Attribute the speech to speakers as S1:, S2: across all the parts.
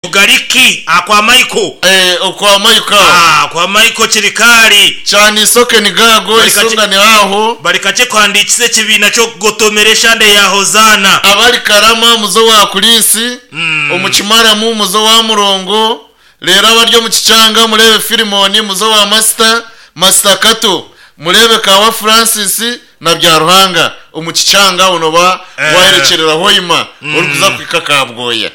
S1: Bugariki akwa Michael.
S2: Eh, okwa Michael aho.
S1: Ah, kwa Michael Kirikaali.
S2: Kyana isoke ni gaago,
S1: Bari kakye-
S2: isonga ni aho.
S1: Bari kakye kuhandiikisa ekibiina ky'okugotomera eshande ya Hozaana.
S2: Abari Karama muze owa Kulisi, omu Kimaramu muze owa Murongo, reero abari omu Kikyanga mureebe Filimoni muze owa Masita, Masita Kato, mureebe Kaawa Francis na Byaruhanga omu Kikyanga aho nooba
S1: Eh.
S2: wayerekyerera Hoima orikuza kuhika Kabwoya.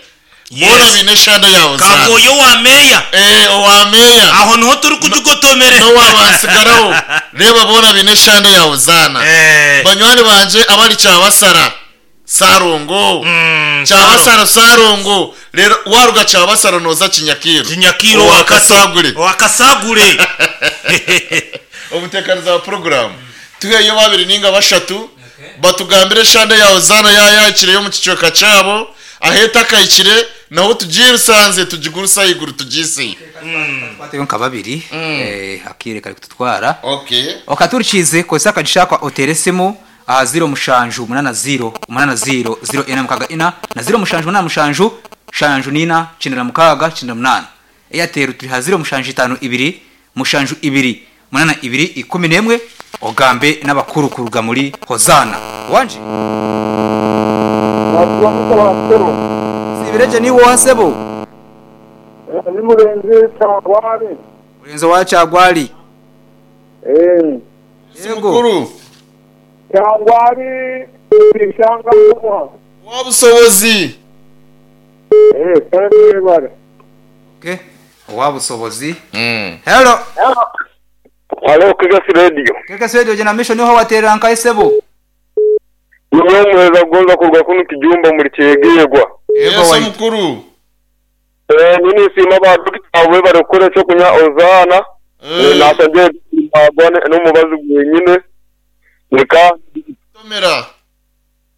S2: Boona
S1: Yes.
S2: baine eshande ya Hozaana.
S1: Kabwoya owa meeya.
S2: Eh, owa meeya.
S1: Aho niho turikugigotomere.
S2: N'owa Bansigaraho. Reeba boona baine eshande ya Hozaana.
S1: Eh.
S2: Banywani bangye abari Kyabasara, Sarongo. Kyabasara, Sarongo. Reero waruga Kyabasara nooza Kinyakiiro.
S1: Kinyakiiro
S2: Owa
S1: owa
S2: Kasagure.
S1: Owa Kasagure.
S2: Omuteekaniza wa puroguraamu. Tuheyo babiri ninga bashatu batugambire eshande ya Hozaana yaayahikire y'omu kicweka kyabo, ahu etakahikire naho tugirusanze tugiguruse ahaiguru tugiiseyo.
S3: Twateyo nka babiri eh, akaire kari kututwara.
S2: Okay.
S3: Okaturikiize kozesa akagisha kwa oteera esimu aha 0780 80 0464 na 0787 74 6 98. Airtel turi aha 0752 72 82 11 ogambe n'abakuru kuruga muri Hozaana. Wangi? Sibiregye niiwe oha sebo?
S4: Ni Murenzi Kyagwali.
S3: Murenzi owa Kyagwali.
S4: Eh.
S3: Yego.
S2: Mukuru.
S4: Kyagwali Ishanga.
S2: Owabusobozi.
S4: Eh, kale mwebale.
S3: Okay. Owa busobozi. Hello.
S5: Halo, Kegesi Radio.
S3: Kegesi Radio jena mission niho waterera nkahi sebo?
S5: Niwe muheza kugonza kuruga kunu kijumba muri Kyegegwa.
S3: Yego
S2: Yesu
S3: waitu.
S2: mukuru.
S5: Eh, nini siima ba dokita bwe kukora ekyokunywa Ozaana.
S2: Eh.
S5: Nashangiye magwa n'omubazi gwenyine. Nika
S2: Tomera.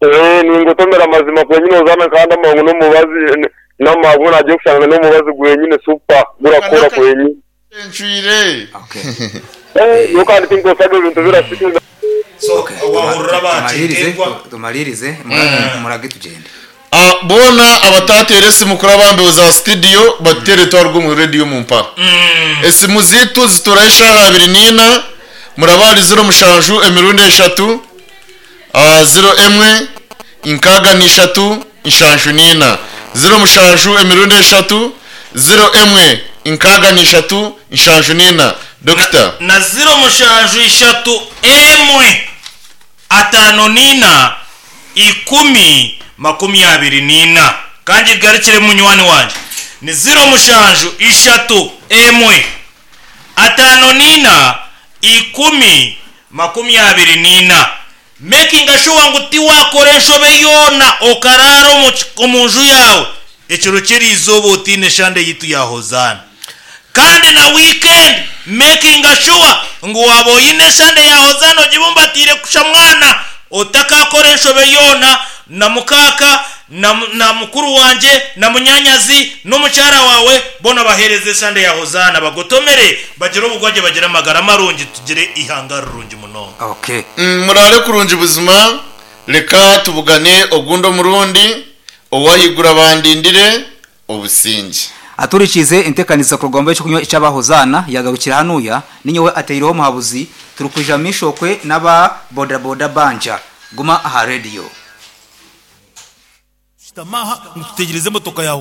S5: eh ningotomera amazima gwenyine Ozaana kandi amangu n'omubazi n'amagu nagiye kushanga n'omubazi gwenyine super gurakora gwenyine.
S2: Encwire.
S3: Okay.
S5: Eh, yo kandi tinkosaga ebintu birasikiza.
S1: So,
S3: Okay.
S1: wahurira
S3: Tumalirize,
S1: bakyegegwa.
S3: tumalirize, murage tugende.
S2: Ah, boona abatateera esimu kuri abambeho za studio batuteere twarugwa omu radio omu mpaka. Esimu ziitu zituraho eshaaha abiri n'ina muraba 07 emirundi eshatu ah, 01 nkaaga n'ishatu nshanju n'ina 07 emirundi eshatu 01 nkaaga n'ishatu nshanju n'ina dokita
S1: Na 07 3 54 10 24. Kandi garukire munywani wangye. Ni 07 3 54 10 24. Making sure ngu tiwakora enshobe yoona okaraara omu nju yaawe ekiro ky'erizooba otiine eshande yitu ya Hozaana. Kandi na weekend making sure ngu waaba oine eshande ya Hozaana ogibumbatiire kusha mwana otakakora enshobe yoona na mukaaka na mukuru wangye na munyanyazi n'omukyara waawe boona baheereze eshande ya Hozaana bagotomere bagire obugwagye bagire amagara marungi tugire ihanga rirungi munonga.
S3: Okay.
S2: Murare kurungi buzima reka tubugane ogundi omurundi owahigura bandindire obusinge.
S3: Aturikize entekaniza kurugamba ekyokunywa ekyaba Hozaana yagarukira hanuya ninyowe ateireho omuhabuzi turukwija mishokwe n'aba boda boda banja guma aha radio.
S1: Shitamaha ntutegereze emotoka yawe.